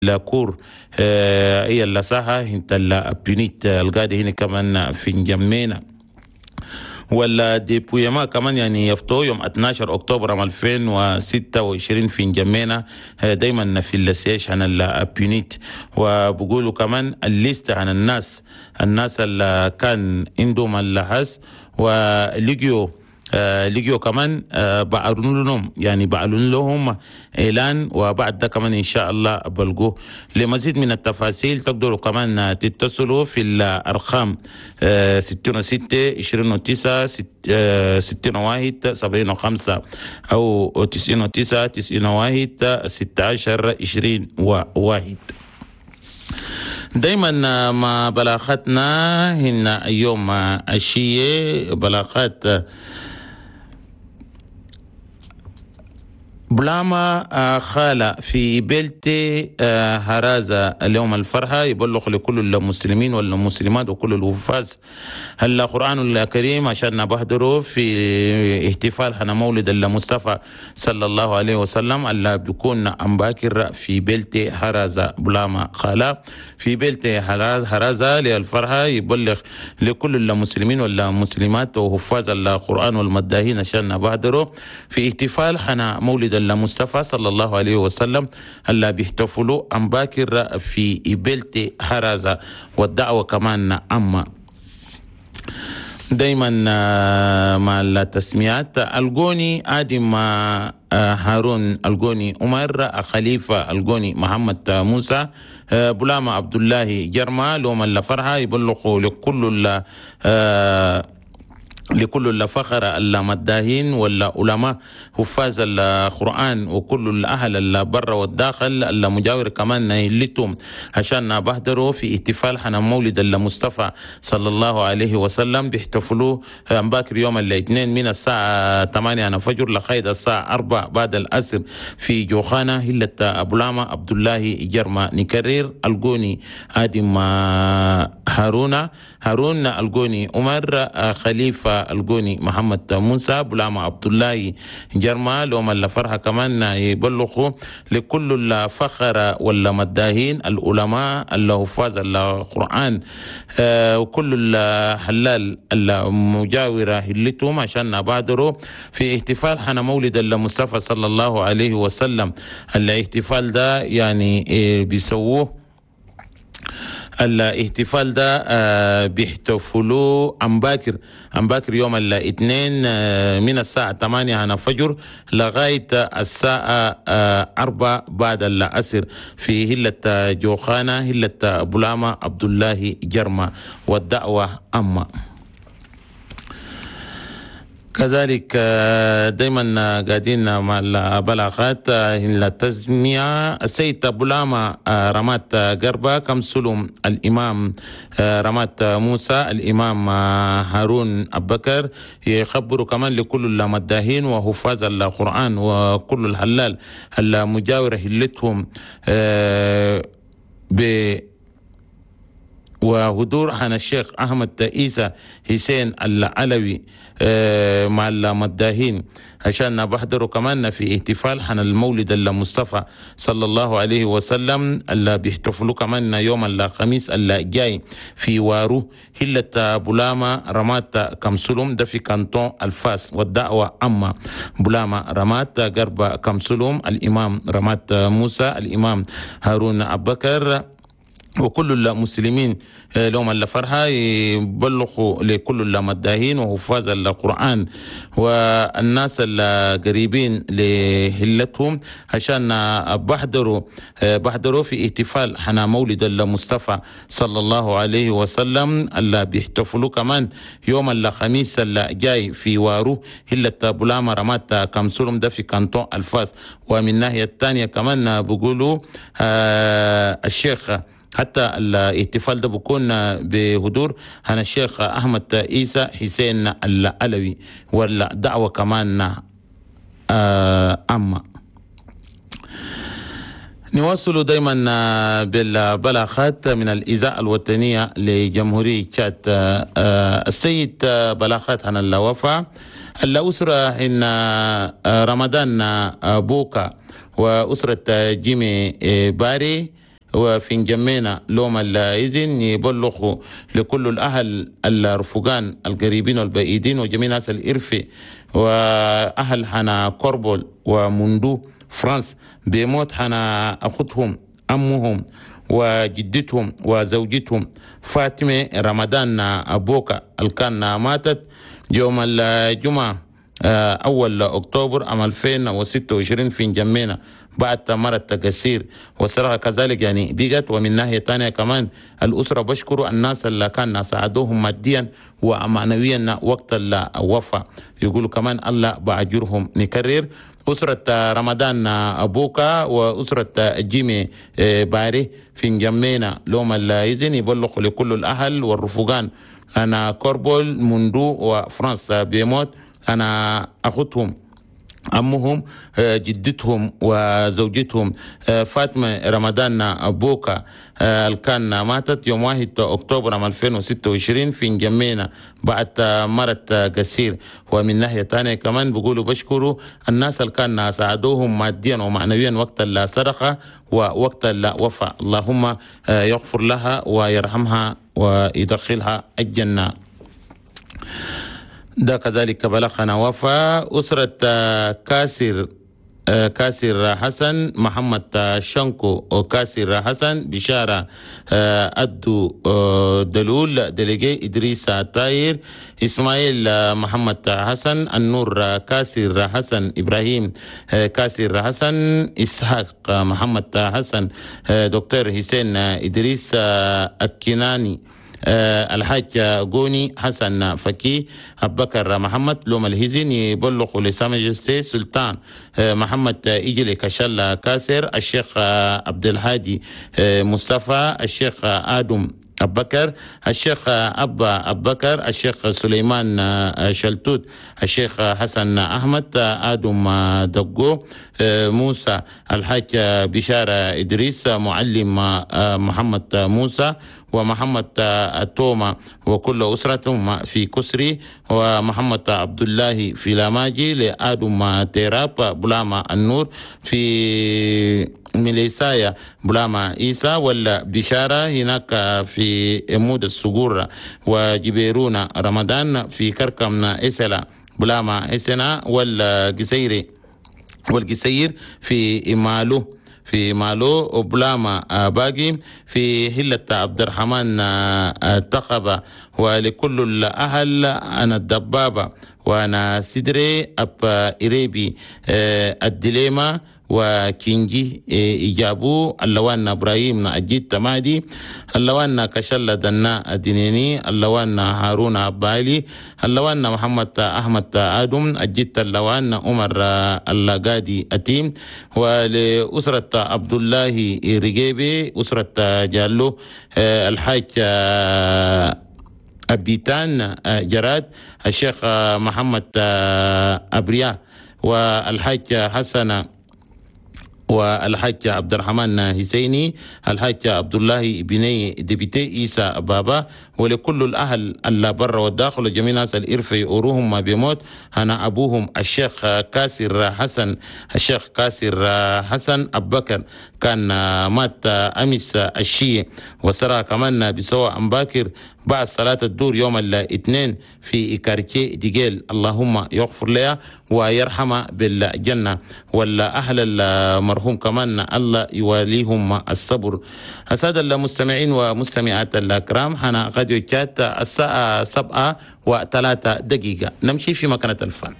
La cour هي اللساحة انت البيونيت القاعدة هنا كمان في نجمينا. ولا dépouillement كمان يعني يفتو يوم 12 اكتوبر عام 2026 في نجمينا، دايما في ال siège عن البيونيت. وبقولوا كمان ال liste عن الناس اللي كان عندهم الحس ولقيوا لقيوا كمان بعلنوا لهم، يعني بعلن لهم اعلان، وبعد ده كمان ان شاء الله بلقوه. لمزيد من التفاصيل تقدروا كمان تتصلوا في الارقام 66 29 61 75 او 99 91 16 21. دايما مع بلاغاتنا هنا يوم الشيء بلاغات بلاما خالة في بلتي هرازة. اليوم الفرحة يبلغ لكل المسلمين والمسلمات وكل الحفاظ القرآن الكريم عشان بحضروا في احتفال حنا مولد المصطفى صلى الله عليه وسلم اللي بيكون أمباكر في بلتي هرازة. بلاما خالة في بلتي هرازة للفرحة يبلغ لكل المسلمين والمسلمات وحفاظ القرآن والمداهين عشان بحضروا في احتفال حنا مولد المصطفى صلى الله عليه وسلم اللي بيحتفلوا أم باكر في إبلتي حرازة، والدعوة كمان أما دايما مع التسميات: الجوني آدم هارون، الجوني عمر خليفة، الجوني محمد موسى، بلاما عبد الله جرما. لهم الفرحة يبلغوا لكل الفخر المداهين والعلماء حفاظ القرآن وكل الأهل البر والداخل المجاور كمان لتم عشان بحضروا في احتفال حنا مولد المصطفى صلى الله عليه وسلم. بيحتفلوا باكر يوم الاثنين من الساعة 8 فجر لغاية الساعة 4 بعد العصر في جوخانة هلة أبو عبد الله جرما. نكرر: الجوني آدم هارون، هارون الجوني عمر خليفة، الجوني محمد موسى، بلاما عبد الله جرما. لهم الفرحة كمان يبلغوا لكل الفخر والمداهين العلماء الحفاظ القرآن وكل الحلال المجاورة هلتهم عشان بادروا في احتفال حنا مولد المصطفى صلى الله عليه وسلم. الاحتفال ده يعني بيسووه، الاحتفال ده بيحتفلوا أم باكر يوم الاثنين من الساعة 8 عن الفجر لغاية الساعة 4 بعد العصر في هلة جوخانة هلة بلاما عبد الله جرما، والدعوة أما كذلك. دايما قاعدين مع البلاغات التسمية: السيد بولاما رمات قربة كم سلم، الإمام رمات موسى، الإمام هارون أبكر، يخبروا كمان لكل المداهين وحفاظ القرآن وكل الحلال المجاورة هلتهم ب وحضور عن الشيخ أحمد عيسى حسين العلوي مع المداهين عشان بحضروا كمان في احتفال حن المولد المصطفى صلى الله عليه وسلم اللي بيحتفلوا كمان يوم الخميس اللي جاي في وارو هلة بولاما رمات كمسلوم، ده في canton الفاس، والدعوة أما. بولاما رمات قرب كمسلوم، الإمام رمات موسى، الإمام هارون أبكر، وكل المسلمين لهم الفرحة يبلغوا لكل المداهين وحفاظ القرآن والناس القريبين لهلتهم عشان بحضروا في احتفال حنا مولد المصطفى صلى الله عليه وسلم اللي بيحتفلوا كمان يوم الخميس اللي جاي في وارو هلة بولاما رمات كمسولم، ده في canton الفاس. ومن الناحية الثانية كمان بيقولوا الشيخ حتى الاحتفال ده بيكون بحضور هنا الشيخ أحمد عيسى حسين العلوي، والدعوة كمان أما. نواصل دايما بالبلاغات من الإذاعة الوطنية لجمهورية تشاد. السيد بلاغات عن الوفاة الأسرة إن رمضان بوكا وأسرة جيمي باري. وفي انجمينا لوم الإذن يبلغوا لكل الأهل الرفقان القريبين والبعيدين وجميع ناس الإرفي وأهل حنا كوربول ومندو فرانس بموت حنا أخوتهم أمهم وجدتهم وزوجتهم فاطمة رمضان أبوكا الكان ماتت يوم الجمعة أول أكتوبر عام 2026 في انجمينا بعد مرض تكسير والصراحة كذلك يعني بقت. ومن ناحية ثانية كمان الأسرة بشكروا الناس اللي كان ساعدوهم ماديا ومعنويا وقت الوفاة، يقولوا كمان الله بأجرهم. نكرر أسرة رمضان أبوكا وأسرة جيمي باري في انجمينا لوم الإذن يبلغوا لكل الأهل والرفقان أنا كوربول مندو وفرنسا بيموت أنا أخوتهم أمهم جدتهم وزوجتهم فاطمة رمضان بوكا الكان ماتت يوم 1 أكتوبر عام 2026 في انجمينا بعد مرض قصير. ومن ناحية ثانية كمان بيقولوا بشكروا الناس اللي كان ساعدوهم ماديا ومعنويا وقت الصدقة ووقت الوفاة. اللهم يغفر لها ويرحمها ويدخلها الجنة. ده كذلك بلغنا وفاة أسرة كاسر حسن محمد شنكو وكاسر حسن بشارة أدو دلول دليجي إدريس تاير إسماعيل محمد حسن النور كاسر حسن إبراهيم كاسر حسن إسحاق محمد حسن دكتور حسين إدريس الكناني الحاج غوني حسن فكي أبكر محمد لوم الهزين يبلغ لسامجستي سلطان محمد إجلي كشل كاسر الشيخ عبد الهادي مصطفى الشيخ آدم أبكر الشيخ أبا أبكر الشيخ سليمان شلتوت الشيخ حسن أحمد آدم دقو موسى الحاج بشارة إدريس معلم محمد موسى ومحمد توما وكل أسرتهم في كسري ومحمد عبد الله في لاماجي لآدم تيراب بلاما النور في ميليسايا بلاما إيسا ولا بشارة هناك في مود السجور وجبيرون رمضان في كركم إسلا بلاما إسنا والجسير في مالو وبلاما باقي في هلة عبد الرحمن تخبة. ولكل الأهل أنا الدبابة وأنا سدري أب إريبي الدليمة وكينجي إجابو اللوان إبراهيم أجيد تمادي اللوان كشلة دنا دينيني اللوان هارون عبالي اللوان محمد أحمد آدم أجيد اللوان عمر اللقادي أتيم. ولأسرة عبد الله رجيبي أسرة جالو الحاج أبيتان جراد الشيخ محمد أبريا والحاج حسن والحاج عبد الرحمن حسيني الحاج عبد الله بني دبيتي إيسا بابا. ولكل الأهل اللي برا والداخل جميع ناس الإرفي أوروهم ما بيموت أنا أبوهم الشيخ كاسر حسن الشيخ كاسر حسن أبكر كان مات أمس الشيء وسرى كمان بسوى أمباكر بعد صلاة الدور يوم الاثنين في كارتيه ديجيل. اللهم يغفر لها ويرحمها بالجنة ولا أهل المرحوم كمان الله يواليهم الصبر. السادة المستمعين ومستمعات الكرام حنا غاديو تشات الساعة 7:03 نمشي في مكانة الفن.